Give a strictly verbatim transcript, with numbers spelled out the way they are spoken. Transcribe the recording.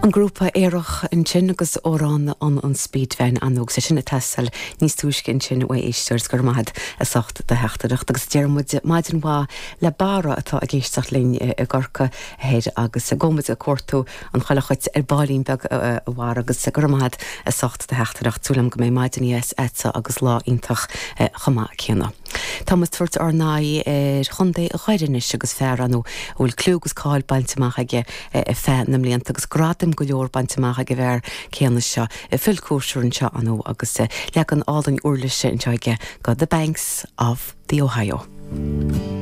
An grúpa Aerach ansin agus amhrán an an Speedvan anóg sé sin atá níos túisce ansin ó éisteoir gur maith as ucht do theachtaireacht agus deir muid maidin mhaith le Barra atá ag éisteacht linn i gCorcaigh thoir agus gabhfaidh muid ag cuartú an choileach dhuit ar baillín beag a Bharra agus gur maith as ucht do theachtaireacht súil agam go mbeidh maidin dheas agatsa agus lá iontach chomh maith céanna. Tá muid ag tabhairt ár n-aghaidh ar chontae Dhoire anois agus fear ann a bhfuil clú agus cáil bainte amach aige feadh na mblianta agus gradaim go leor bainte amach ag an bhfear céanna seo Phil Coulter anseo ann agus leagan álainn uirlise anseo aige go The Banks of the Ohio.